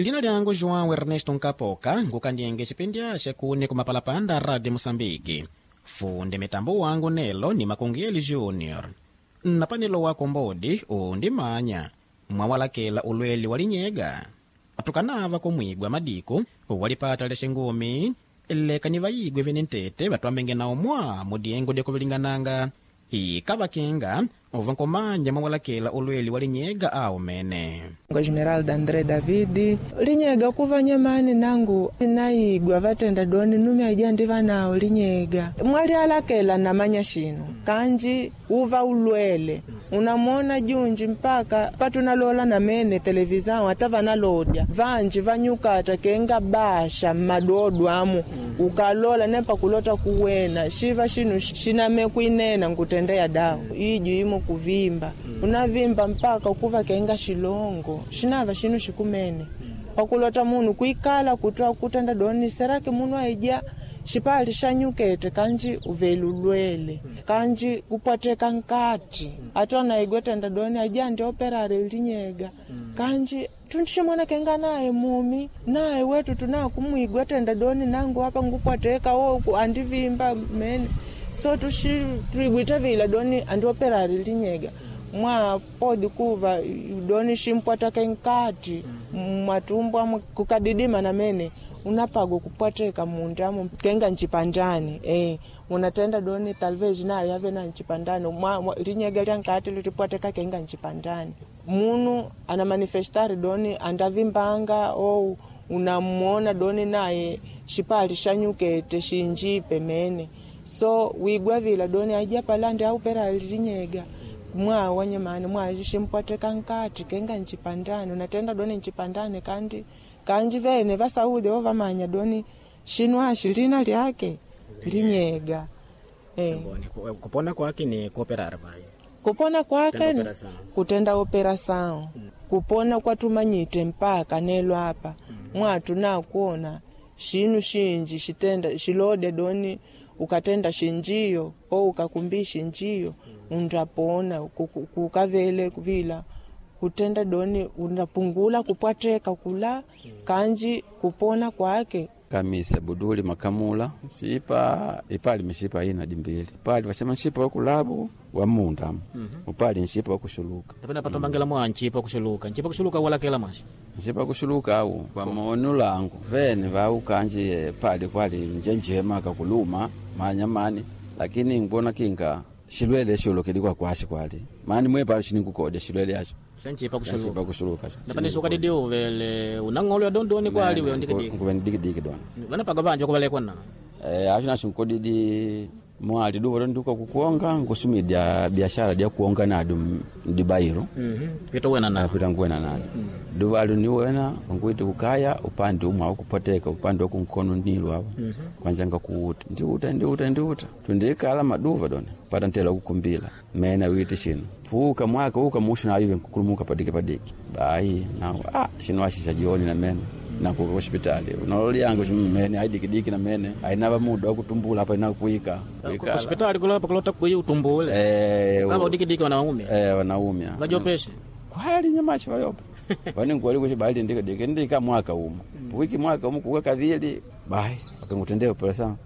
Lina lyangu João Ernesto Nkapoka, ngukandyenge chipindi axe kune kumapalapanda Radio Moçambique. Funde mitambo wangu nelo ni Makungeli Junior. Napanelo wako mbodi undimanya mwawalakela ulweli walinyega atukanava kumwigwa madiku walipata lexingumi leka ni vayigwe vene ntete vatwambenge nawo mwa mudiengo dyakuvilingananga ikavakinga uvankomanya mwawalakela ulweli walinyega awo mene. Esmeralda André Davidi linyega kuva nyamani nangu naigwa vatenda doni nume aija ndiva nawo linyega mwali alakela namanya shino kanji uva ulwele unamwona junji mpaka patunalola namene televisão ata vanalodya vanji vanyukata kenga basha mmadodo amu ukalola nepa kulota kuwena shiva shinu shiname kuinena nkutendeya dawa iju imo kuvimba unavimba mpaka kuva kenga shilongo shinava shinu shikumene pakulota munu kuikala kutwa kutenda doni serake munu aija xipali xa nyukete kanji uvelulwele kanji kupwateka nkati atona igwetenda doni aija ndi operare linyega kanji tunximwana kenga naye mumi naye wetu tuna kumwigwa tenda doni nangu apa ngupwateka oku andivimba mene so tuxi tuigwita vila doni andioperare linyega mwa podi kuva doni ximpwataka nkati mwatumbu amu kukadidima na mene unapago kupwateka mundu amu kenga ncipandani unatenda doni talvez nayo yave na ncipandani linyega lya nkati lilipwateka kenga ncipandani munu ana manifestari doni andavimbanga ou unamwona doni naye xipali xa nyukete xinjipe mene so wigwa vila doni aija palandi aupera linyega mwa wanyamani mwa ximpwateka nkati kenga ncipandani unatenda doni ncipandani kandi kanji vene vasaude vo vamanya doni xinu axi lina lyake linyega Kupona kwake ni kuoperare vai kupona kwake Kutenda operação. kutenda operação kupona kwatumanyite mpaka nelo apa mwatu nakuona xinu xinji xitenda xilode doni ukatenda xinjiyo ou ukakumbi xinjiyo undapona kukavele vila kutenda doni undapungula kupwateka kula kanji kupona kwake Kamisa buduli makamula nsipa ipali mishipa ina dimbili pali vasema nshipa wakulabu wa munda upali nshipa wakushuluka napena patombangela mwa nchipa kuxuluka nchipa kuxuluka walakela mwaxi nsipa kushuluka au kwa maono langu vene vaukanji pali kwali njenjema kakuluma manyamani lakini ngibona kinga shilwele shulukili kwa kwashi kwali mani mwe pali shininkukodya shilwele asho xa nchipa nsipa kuxuluka kushuluka napane sukadidi uvele unang'olo ya dondoni kwali we ndikidiki ndikidiki dona vanapaga vanje kuvalekwa na acho nacho nkodidi mwali duva londuka kukuonga nkusumidya biashara dya kuonga nadu mdibairo pito wena na napita nkuwena nado duva alu niwena nkuiti kukaya upande umwe awukupoteka upande wakunkono nilu awo kwanja ngakuuta ndiuta ndiuta ndiuta tundikala maduva dona pata ntela kukumbila mena witi shino puka mwaka uka mushu nayive nkukulumuka padiki padiki bayi nawo shino ashisha jioni na mena nakuka kushipitali unololi yangu mene aidikidiki na mene ainava muda wakutumbula apa inakuika kusipitali kulapa kulota kuyi utumbule kama udikidiki wanaumia wanaumia vajopeshe kwali nyamachi valiopa vaningwali kuchi bali ndikadiki ndika mwaka umo wiki mwaka umo kuka kavili bayi wakangutendea operesa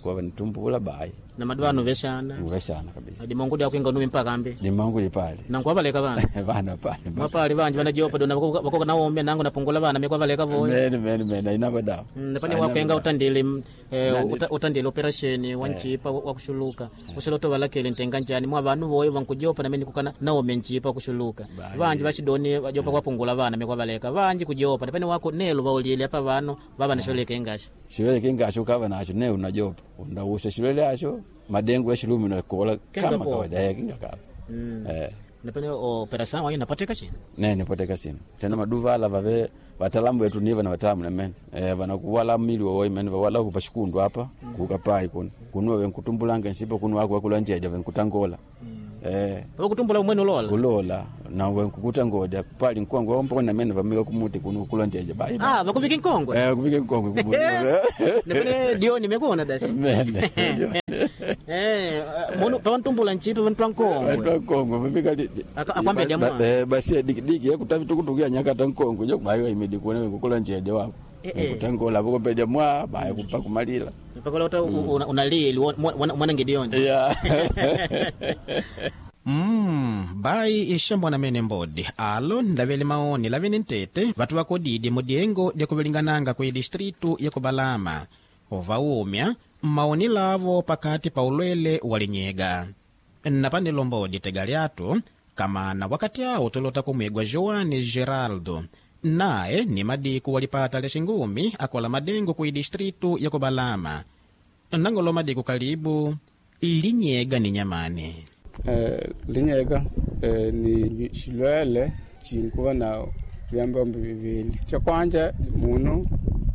kwa vanitumbula bayi na madwano veshana nguveshana kabisa dimongo dya kuinga numi mpaka ambi limangu lipali nangu avaleka vana vana pali mwapali vanji vanajopa dona vakoka naomya nangu napungula vana mikwa valeka voya mene mene mene ainava dawa napane wakenga utandile utandile operation wa nchipa wa kuxuluka usiloto valakele ntenga njani mwa vanu voyo vankujopa namene kukana naomya nchipa kuxuluka vanji vachidoni vajopa kwapungula vana mikwa valeka vanji kujopa napane wako nelo vaulile apa vanu vava nasholeka ingasha shilwele kingasho ukava nacho ne unajopa undawusa shilwele asho madengu ya shilumi unakola Kinga kama po. kawaida kinga kala napane operation wayo napateka chini nene poteka sino tena maduva ala vave vatalamu vetu niva na vatalamu namene vanakuwala mili wawoi mene vawala kupa xikundu apa kukapai kuno kuno venkutumbulanga nsipa kuno wako wakula njeja venkutangola Pakutumbula umwene ulola. Kulola na wenkukuta ngoda pali nkongwe ompona mene vamika kumuti kuno kulonjeje bai. Ah, vakuvika nkongwe. Eh, kuvika nkongwe kumuti. Napene dioni mekuona dasi. Mene. Eh, munu pavantumbula nchipa vantwa nkongwe. Watu nkongwe vamika Akwambia jamaa. Eh, basi dikidiki yakutavi tukutukia nyakata nkongwe jo bayo imedi kuona wenkukulonjeje wapo. Eh, eh. Kutangola vokopedya mwa bayo kupa kumalila. Pakolota unalili mwanange dioni. Yeah. Bai ixambwana mene mbodi alo ndavele maoni lavene ntete vatu vakodidi mudiengo lyakuvilingananga kwi distritu ya kubalama ovaumya maoni lavo pakati pa ulwele wa linyega napanelo mbodi tega lyatu kamana wakati awo tulota kumwigwa Joane Geraldo naye ni madiku walipata lya xingumi akola madengo kwi distritu ya kubalama nangolo madiku kalibu linyega ni nyamani. Linyega ni xilwele cinkuva na vyambambo vivili. Cha kwanja munu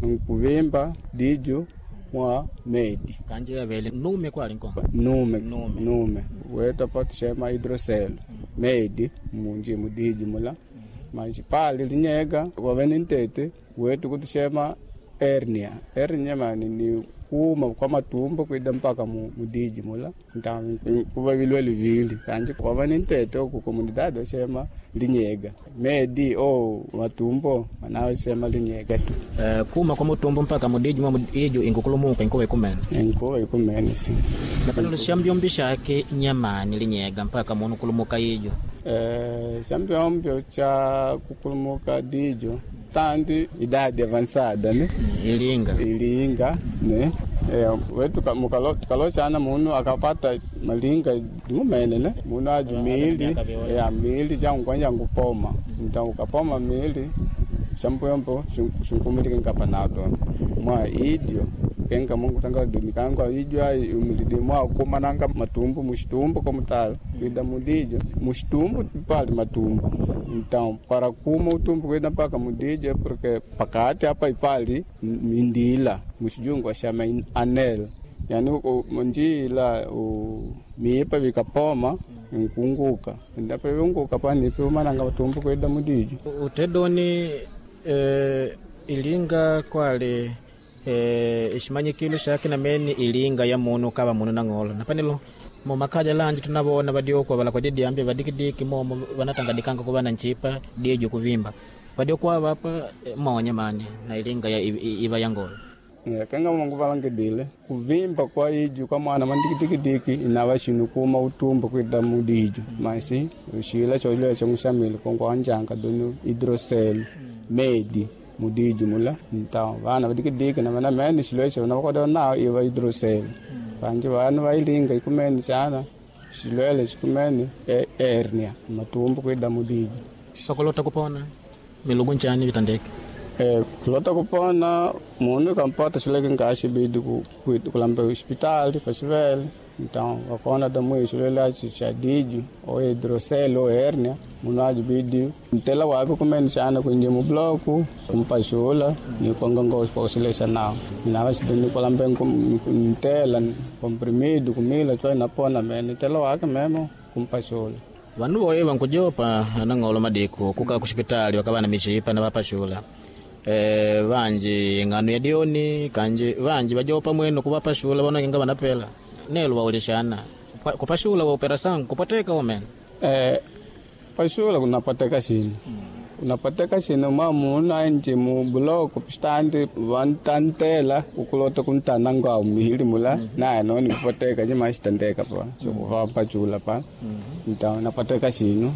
nkuvimba diju mwa medi kanje yavele nume kwali nko nume Nume. nume weta patixema hidrocelo medi munji mudiji mula manji pali linyega wave ni ntete wetu kutixema hernia. Hernia mani ni kuma kwa matumbo kwida mpaka mudiji mula. Nta kuva vilwele vili kanji wava ni ntete oku comunidade axema linyega medi o matumbo manawe xema linyega tu. Kuma kwa mutumbo mpaka mudiji mwa ijo inkukulumuka inkuwa ikumene enkuwa ikumene si. Napanelo xambyombi xake nyamani linyega mpaka munu kulumuka ijo. Xambyombyo cha kukulumuka dijo tandi idadi avançada ne. Ilinga. Ilinga ne. Wetu tukalochana munu akapata malinga dimumene ne munu aju miili ya miili jangu kwanja ngupoma nta ukapoma miili xambuyombo xinkumilike nkapanado mwa idyo kenga mungu tanga dunikangwa idyo ai umilidi mwa kumananga matumbo muxitumbo komutala kwida mudijo muxitumbo pali matumbo. Então para kuma utumbo kwida mpaka mudijo porque pakati apa ipali mindila muxijungu axama anel yani njila miipa vikapoma nkunguka ndapa viunguka panipi umananga matumbo kwida mudijo. Utedoni ilinga kwali iximanyikilo xake namene ilinga ya munu kava munu nang'olo napanelo mumakaja lanji tunavona vadiokwa vala diambi vadikidiki momo vanatangadikanga kuva na nchipa diejo kuvimba vadiokuwa vapa monya mani na ilinga ya iva ya ngolo. Kenga mungu valangidile kuvimba kwa iju kwa mwana mandikidikidiki inava xinu kuma utumbo kwida mudiju masi xila xolea xonguxamile kongo anjanga donu hidrocele medi mudiju mula. Então vana vadikidiki na vana mene xilwexo vana vakoda nao iva hidrocele vanji vana vailinga ikumene xana xilwele xikumene hernia matumbo kwida mudiju. Sokolota kupona milugu nchani vitandeke. Kulota kupona munu kampata xileke nkaxibidi kulamba hospitali paxivele. Então vakona damu xilwele axi xa diju o hidrocele o hernia munu ajibidi ntela wake kumene xana kuinje mubloku kumpaxula ni kongongo xile nao inava xidoni kulambe ntela comprimido kumila cwa inapona mene ntela wake memo kumpaxula. Vanu voye vankujopa nang'olo madiku kuka kuxipitali vakava na mixipa na vapaxula. Vanji ng'ano ya dioni kanji vanji vajopa mweno kuvapashula vanokenga vanapela nelo vaulixana kupashula wa operação kupoteka omene. Pashula kunapateka xini unapateka xini ma munu ainje mu buloko pistandi vantantela ukulota kuntana ngao mihili mula naye noni kupateka cima xitandeka pa xokuvapachula pa. Então napateka xinu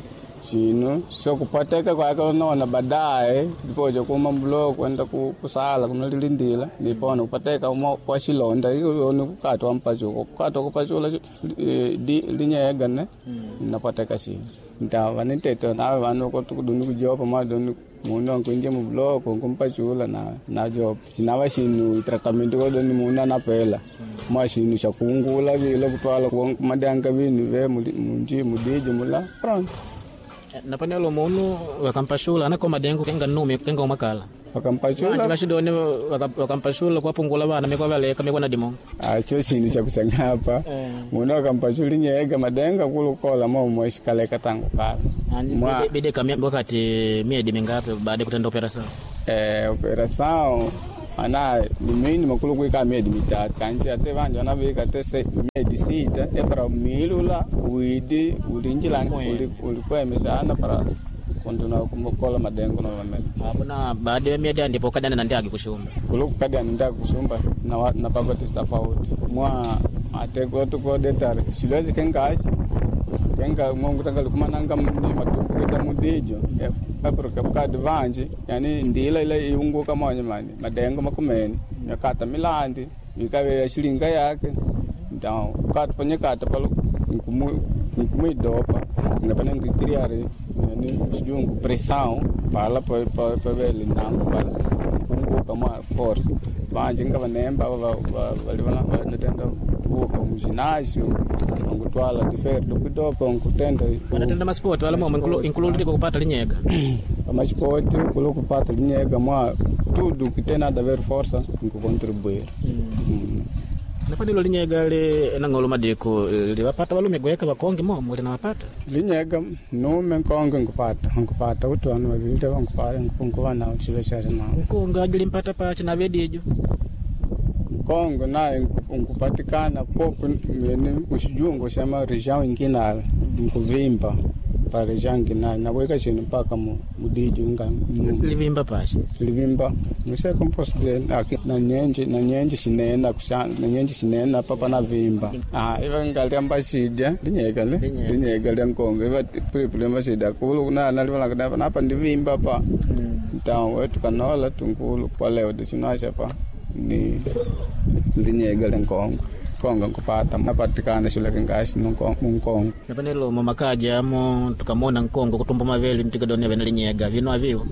xinu sokupateka kwake unona baadaye ndipoja kuma buloko enda kusala kunalilindila nipona kupateka uma kwa xilonda ioni kukatwa mpachula kukatwa kupachula linyega ne napateka xinu. Então vaniteto nave vanu doni kujopa ma doni munu ankuinje mubuloko nkumpachula na najopa cinava xinu tratamento ko doni munu anapela mwa xinu xa kungula vile kutwala kumadianga vinu ve munji mudiji mula pronto. Napanelo munu vakampashula anako madengo kenga nume kenga umakala. Wakampashula Vashidoni wakampashula kuwapungula vana mikwavaleka mikwana dimongo. Acho chini cha kusangapa munu wakampashula linyega madenga kulukola momwe shikaleka tangu kala. Bideka wakati miedi mingapi baada ya kutenda operação? Operação ana ni mínimo kulukuika miedi mitatu kanji ate vanji vanavika te miedi sita epara milula widi ulinjila ulikwemesana para kunduna kukola madengo novamene. Apuna baada ya miedi ndipo kadana na ndiagi kushumba. Kulukukadiana ndiagi kushumba napapati tofauti mwa ate kulotukodetare silwezi kengashi kenga mongutanga kumananga matumbukita mudijo epuro vanji yani ndila ile iunguka monye mani madengo makumene nyakata milandi ikawe shilinga yake então kata panyakata palo nkumuidopa ngapane ngikiriare yani sijungu pressão pala pavele nangu pala kunguka mwa force vanji nga vanemba vali vanatenda kuvuka muginásio angutwala difere dokudopa nkutenda Wanatenda masipoti wala momwe inkululidiko kupata linyega. Pamasipoti kulo kupata linyega mwa tudo que tem nada a ver força nkucontribuir. Napanilo linyega li nang'olo madiko liwapata valume gweka vakonge momo linawapata. Linyega nume nkonge nkupata kuti vanu vavili nkupata nkuva nawo chilo chacho nawo. Nkonge ajilimpata pachi na vedijo. Nkongo naye nkupatikana popo mene muxijungo xa ma região inkinala nkuvimba pa região inkinala nakuika xinu mpaka mudijo inga Livimba pachi. Livimba não sei como posso dizer aqui na nyenje xinena na nyenje xinena papa na vimba iva nga lyamba xidya linyega le linyega lya nkongo iva pulipuli lyamba xidya kulu na na livala na napa ndivimba pa então wetu kanola tunkulu kwaleo dicinaxa pa ni linyega lya nkongo konga nkupata napatikana xileke ngaxi munkongo. Napanelo mumakaja amo tukamona nkongo kutumba mavele mtikadone vena linyega vino aviwo.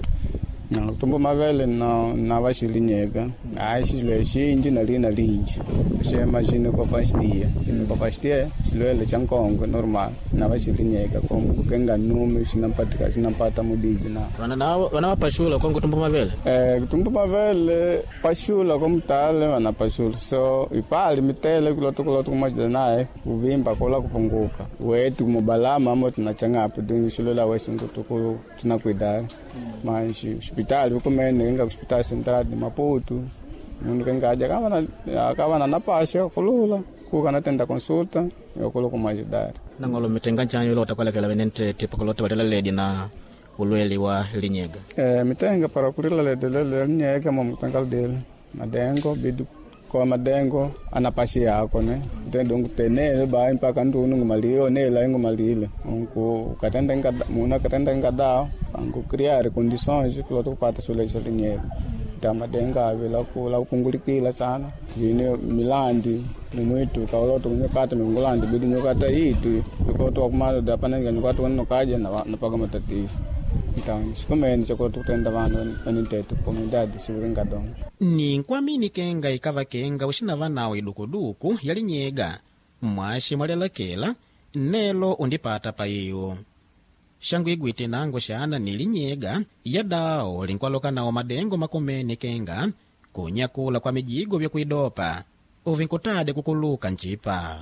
Kutumba mavele na vaxilinyega hayi xilo xinji na lina linji xema xini kopaxitiya xini kopaxitiya xilwele xa nkongo normal na vaxilinyega kenga numi xinampatika xinampata mudiji na Vana vapashula kongo kutumba mavele. Kutumba mavele paxula komutale vana paxula so ipali mitele kuloto kumajida naye kuvimba kola kupunguka wetu mubalama amo tunachangapo dingi xilola wesungutuku tunakuidala manxi hospitali ukumene kenga hospital central de Maputo mundu kenga aja akavana na pasha kulula kuka natenda consulta yokulu kumajidari. Nang'olo mitenga nchanyo lota kwalekela vene ntete pakulota valela ledi na ulweli wa linyega. Mitenga para kulila lede lele linyega mo mitenga dele madengo bidu kwa madengo anapashi yako ne tendo ngutenele ba mpaka ndunu ngumalio nela ngumalile unku katenda nga muna katenda nga dao angu criar condições kulota kupata sule cha linyega ta madenga avela kula kupungulikila sana vine milandi mumwitu kaoloto kunyokata mingulandi bidi nyokata itu ikoto kumalo da pananga nyokata wonokaja na napaga matatizo. Então sikumene chakulota kutenda vanu vanintete comunidade siviringadongo. Ni nkwamini kenga ikava kenga uxinava nawo idukuduku ya linyega mwaxi mwalelakela nelo undipata pa iyo xangu igwite nango xana ni linyega ya dawo linkwaloka nawo madengo makumene kenga kunyakula kwa mijigo vyakuidopa uvinkutade kukuluka ncipa.